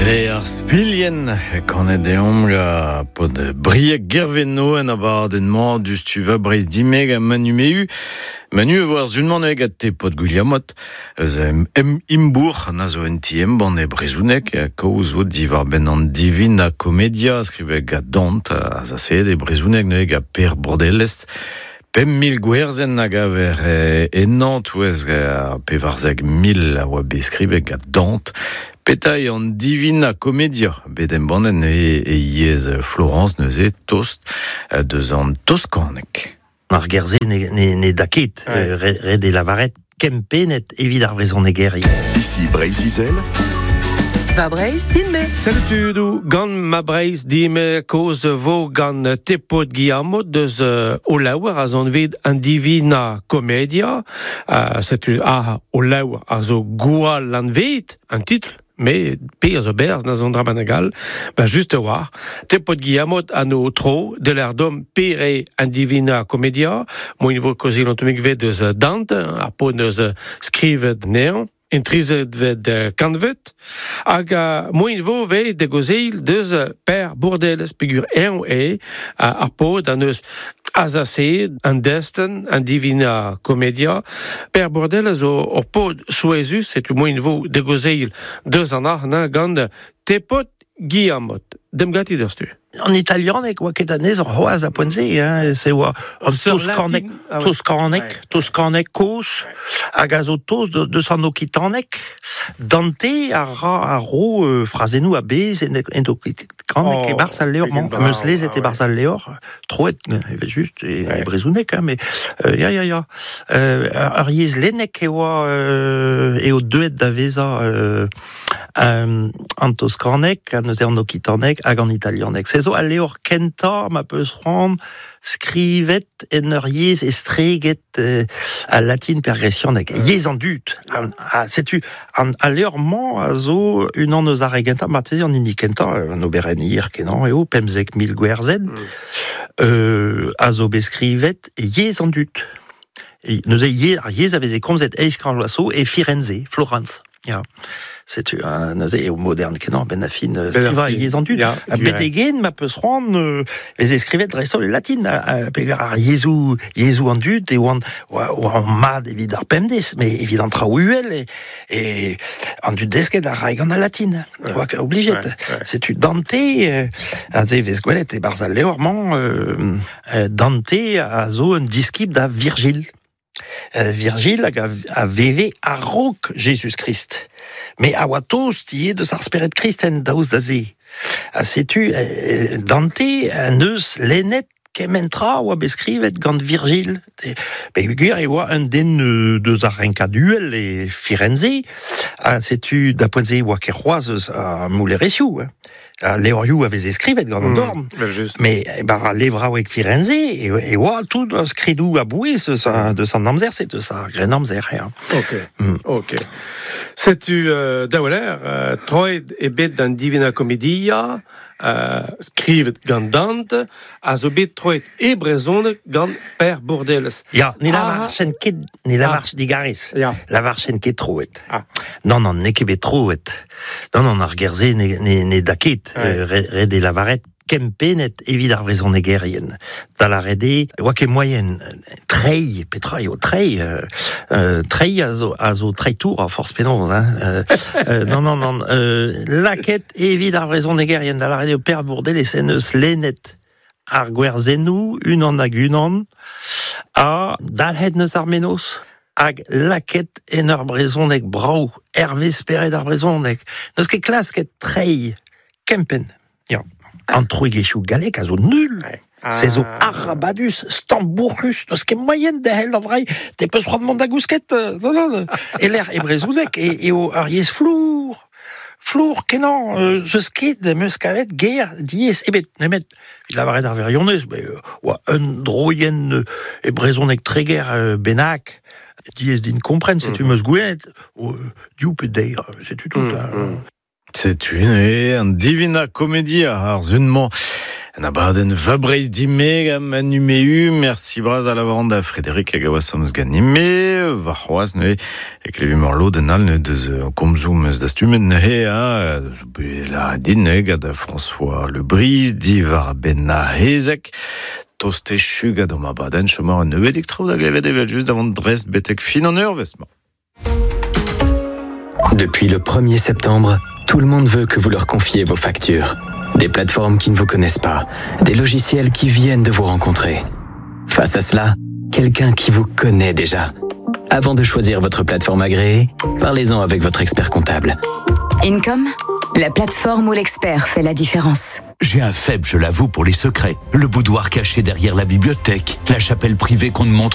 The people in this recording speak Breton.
Le ar spilien kanet deomp ga pod Brieg Gervenno en abadenn-mañ diouzhtu va Breizh Dimeg ha Manu Mehu. Manu e vo ar sun-mañ neuze gant te pod Gwilhamot eus em Imbourc'h na zo un ti embann e brezhoneg kaoz vo diwar-benn an Divina Commedia skrivet gant Dante azaseet e brezhoneg neuze gant Per Bourdelles. 5000 gwerzenn a gaver ennañ touez ar 14,000 a oa bet skrivet gant Dante. Petra eo an Divina Commedia bet embannet neuze e yezh Florence neuze tost deus an toskaneg. Ar ger-se ne, ne, ne da ket, ouais. ret eo lavaret kempennet evit ar vrezhonegerien. Ici Breizh-Izel. Va Breizh din-me. Salut tudoù, gant ma Breizh din-me kaoz vo gant Tepod Guillamot deus o laouer a zon vet an Divina Commedia. Setu ah o laouer a zo gwall anvet an titl me pe a zo berzh na zon dra bennak all, ba just a-walc'h. Tepod Guillamot an o tro de l'erdom pere an Divina Commedia, moin vo kaozeal an tammig vet deus Dante, ar paotr neus skrivet anezhañ. En trizetvet kantved, hag moaien vo vez da gaozeal deus Per Bourdelles peogwir eñ eo ar paotr an deus azaseet an destenn, an Divina Commedia. Per Bourdelles zo ur paotr souezhus, setu moaien vo da gaozeal deus an arc'hant gant Tepod Guillamot. Demp ganti deus-tu. An italianeg oa ket anezhañ c'hoazh a poent-se, hein, se oa an toskaneg, ah toskaneg, toskaneg kozh, hag a zo tost deus an okitaneg. Dante a ra a ro euh, frazennoù a-bezh en, en okitaneg oh, e-barzh al levr-mañ. Am eus lezet ah, e-barzh al levr, troet evel-just e, e brezhoneg, hein, mais euh, ya, ya, ya. Euh, ur yezh lennek e oa euh, eo deuet da vezañ euh, An toskaneg, ha neuze an okitaneg hag an italianeg. Se zo al levr kentañ ma peus c'hoant skrivet en ur yezh estreget al latin pe ar gresianeg, yezh an dud. Ha setu an, al levr-mañ a zo unan eus ar re gentañ, marteze an hini kentañ, un oberenn hir-kenañ eo, 15,000 gwerzenn, a zo bet skrivet e yezh an dud. Neuze ar yezh a veze komzet eizh kant vloaz zo e Firenze, Florence. Ya, setu neuze eo modern kenañ benn ar fin skrivañ yezh an dud. Ya, Betek-hen ma peus c'hoant veze skrivet dreist-holl e latin peogwir ar yezhoù yezhoù an dud e oant oa mat evit ar pemdez, met evit an traoù uhel e, e an dud desket a rae gant al latin. Oa oblijet. Setu Dante aze e vez gwelet e-barzh al levr-mañ Dante a zo un diskibl da Virgil. Virgil hag a veve a-raok Jezuz-Krist, met a oa tost ivez deus ar spered kristen daoust da se. Ha setu Dante en deus lennet kement tra a oa bet skrivet gant Virgil. Peogwir e oa un den deus ar renkad uhel e Firenze, ha setu da poent-se e oa ket c'hoazh eus ar moulerezioù. Al levrioù a veze skrivet gant an dorn. Mais bar al levraoueg Firenze e, e oa tout ar skridoù a-bouez eus, deus an amzer-se, deus ar grennamzer. Ya. Ok, ok. Setu euh, daouler, euh, troet eo bet d'an Divina Commedia, euh, skrivet gant Dante, a zo bet troet e brezhoneg gant Per Bourdelles. Ya, ne lavarchen ket, ne lavarch digarez, Ya. lavarchen ket troet. Ah. Non, non, n'eo ket bet troet. Non, non, ar ger-se ne, ne, ne da ket. Ouais. Ret eo lavaret kempennet evit ar vrezhonegerien. Da lâret eo, e oa ket moaien treiñ, petra eo treiñ Treiñ a zo, a zo treitour a forzh penaos. Hein. Non, non, non. Lakaet evit ar vrezhonegerien, da lâret eo Per Bourdeles en deus lennet ar gwerzennoù unan hag unan ha dalc'het neus ar mennozh hag lakaet en ur brezhoneg brav, hervez spered ar brezhoneg. N'eus ket klasket treiñ kempenn. Ya. An troigezhioù gallek a zo nul. Se zo arabadus, stambourc'hus, n'eus ket moaien derc'hel da vreiñ. Te peus c'hoant mont da gousket? Non, non. E-lec'h e brezhoneg eo ur yezh flour. Flour kenañ, zeus ket em eus kavet ger diaes ebet, nemet evit lavaret ar wirionez, oa un droienn e brezhoneg Treger bennak, diaes din kompren, setu 'm eus goulennet, div pe deir, setu tout. Setu neuze an Divina Commedia ar sun-mañ. En abadenn va Breizh dime gant Manu Mehu. Merci bras a lavaran da Frédéric hag a oa sommz ganime. Va c'hoaz neuze e klevimp ur lodenn all neuze deus komzoù meus dastumet neuze ha zo bet lâret din neuze gant François Le Bris diwar benn ar hezeg. Tost echu gant hom abadenn chom un nebeudig traoù da glevet evel-just da vont Brest betek fin an eurvezh-mañ. Depuis le 1er septembre, tout le monde veut que vous leur confiez vos factures. Des plateformes qui ne vous connaissent pas, des logiciels qui viennent de vous rencontrer. Face à cela, quelqu'un qui vous connaît déjà. Avant de choisir votre plateforme agréée, parlez-en avec votre expert comptable. Income, la plateforme où l'expert fait la différence. J'ai un faible, je l'avoue, pour les secrets. Le boudoir caché derrière la bibliothèque, la chapelle privée qu'on ne montre